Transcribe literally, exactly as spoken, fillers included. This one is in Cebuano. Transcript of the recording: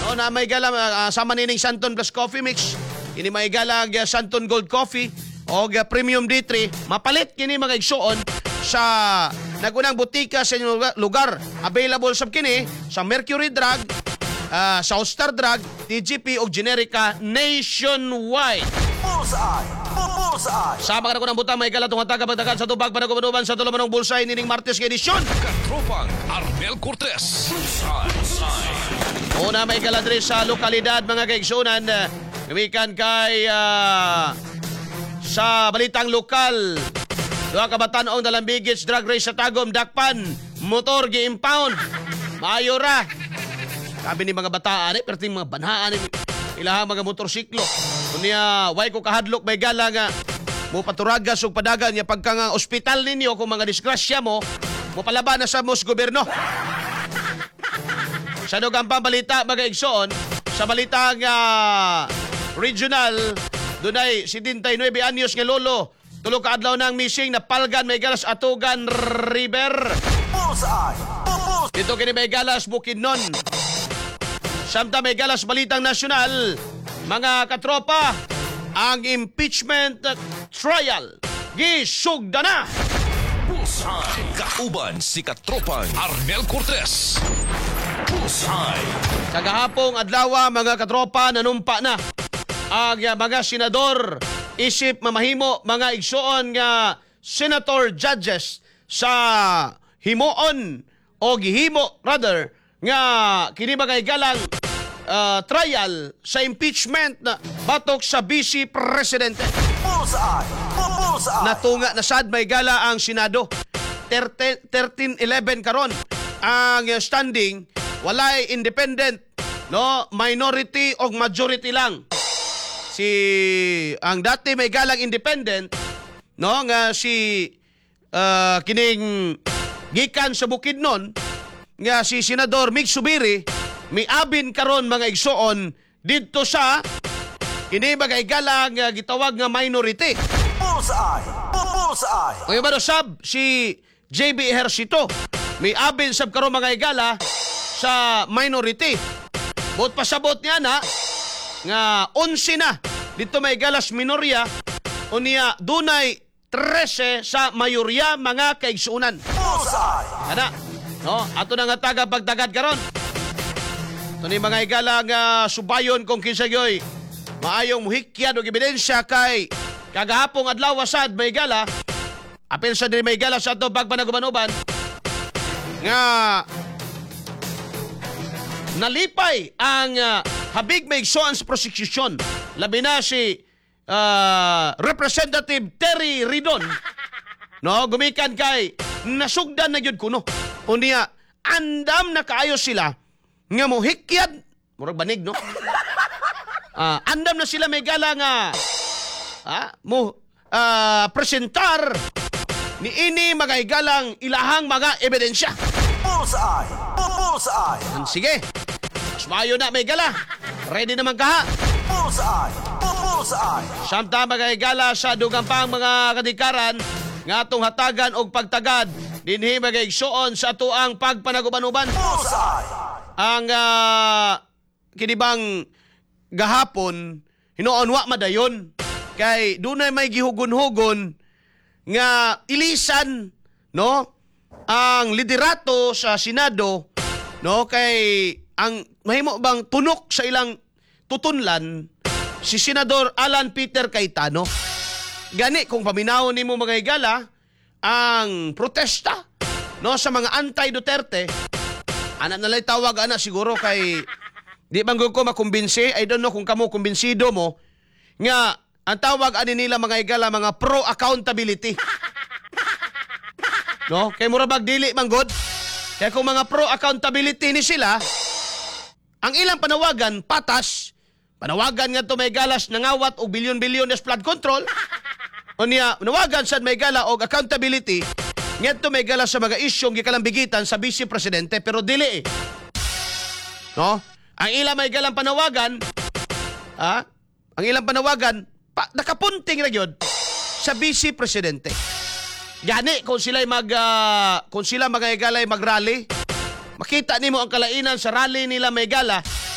No, na may gala uh, sama nining Santon Plus Coffee Mix. Kini may gala uh, Santon Gold Coffee o uh, Premium D three. Mapalit kini, mga igsuon, sa nagunang butika sa inyong lugar- lugar. Available sab kini sa Mercury Drug, uh, South Star Drug, T G P o Generika nationwide. Bullseye! Bullseye! Sa mga nagunang butang, may gala tong hataga pagdagan sa tubag panagubanuban sa tulumanong Bullseye nining Martes nga edisyon. Katropang Arnel Cortez. Bullseye. Una, may gala diri sa lokalidad, mga kaigsunan. Gumikan kay ah, sa balitang lokal. Duha ka batan-ong dalambigits drug race sa Tagum, dakpan, motor gi-impound. Maayo ra. Sabi ni mga bataan eh, pero mga banhaan eh, ilahang mga motorsiklo. Unya, way ko kahadlok, may gala, nga mo paturagas og padagan niya pagka nga ospital ninyo kung mga disgrasya mo, mo palaban na sa mos gobyerno. Sa dugang balita, mga igsoon, sa balitang ah, regional, dunay setenta y nueve anyos nga lolo, tulo ka adlaw nang missing, napalgan, may galas, Atugan River. Bullseye! Bullseye! Dito kini, may galas, Bukidnon. Samtang, may galas, balitang nasyonal, mga katropa, ang impeachment trial gisugda na. Bullseye. Kauban si Katropang Arnel Cortez. Bullseye. Sa gahapong adlaw, mga katropa, nanumpa na ang uh, mga senador isip mamahimo, mga igsuon, nga senator judges sa himuon o gihimo rather nga kini mga igalang uh, trial sa impeachment na batok sa Vice Presidente. Bullseye! Bullseye! Natunga na sad, may gala, ang Senado. thirteen eleven karon ang uh, standing, walay independent, no, minority og majority lang. Si ang dati may galang independent, no, nga si uh, kining gikan sa Bukidnon nga si Senador Migz Zubiri, miabin karon, mga igsoon, didto sa kini mga igalang uh, gitawag nga minority. Bullseye! Bullseye! O yung sab si J B Ejercito, may abin sab karon, mga igala, sa minority. Buot pasabot niya na nga onse na dito, may galas, minorya, unya dunay trese sa mayorya, mga kaigsuunan. Bullseye! Ana, no? Ato na nga taga pagtagad karon. Ito ni mga igala nga subayon kung kinsa gyoy maayong muhikyad og ebidensya kay kagahapong adlaw sad, may gala, apil sa diri, may gala, sa ato pagpanaguban-uban nga nalipay ang ah, habig may igsoon sa prosecution, labi na si ah, Representative Terry Ridon, no, gumikan kay nasugdan na gyud kuno, unya andam na kaayo sila nga mohikyad, murag banig, no. Ah, andam na sila, may gala, nga ah, mo ah, presentar ni ini, mga igalang, ilahang mga ebidensya. Bullseye! Bullseye! Sige. Mas maayo na, may gala. Ready naman kaha. Bullseye! Bullseye! Samtang, mga higala, sa dugang pang mga kadikaran nga atong hatagan og pagtagad dinhi, mga igsuon, sa atuang pagpanaguban-uban. Bullseye! Ang uh, kinibang gahapon hinuon wa madayon kay dunay may gihugon-hugon nga ilisan, no, ang liderato sa Senado, no, kay ang mahimo bang tunok sa ilang tutunlan si Senador Alan Peter Cayetano. Gani kung paminawon nimo, mga higala, ang protesta, no, sa mga anti-Duterte, ana na lang tawag ana siguro, kay di man gud ko makumbinsi. I don't know kung kamo kumbinsido mo nga ang tawag ani nila, mga higala, mga pro accountability, no, kay mura bag dili man gud. Kay kung mga pro accountability ni sila, ang ilang panawagan patas, panawagan nga may galas nangawat og bilyon-bilyon sa flood control. Unya panawagan sad, may gala, og accountability ngadto, may gala, sa mga isyong gikalambigitan sa vice presidente, pero dili eh. No? Ang ilang may galang panawagan, ha? Ang ilang panawagan pa, nakapunting na gyud sa vice presidente. Gani kung sila mag ah, kung sila mga higalay magrally, makita nimo ang kalainan sa rally nila, may gala.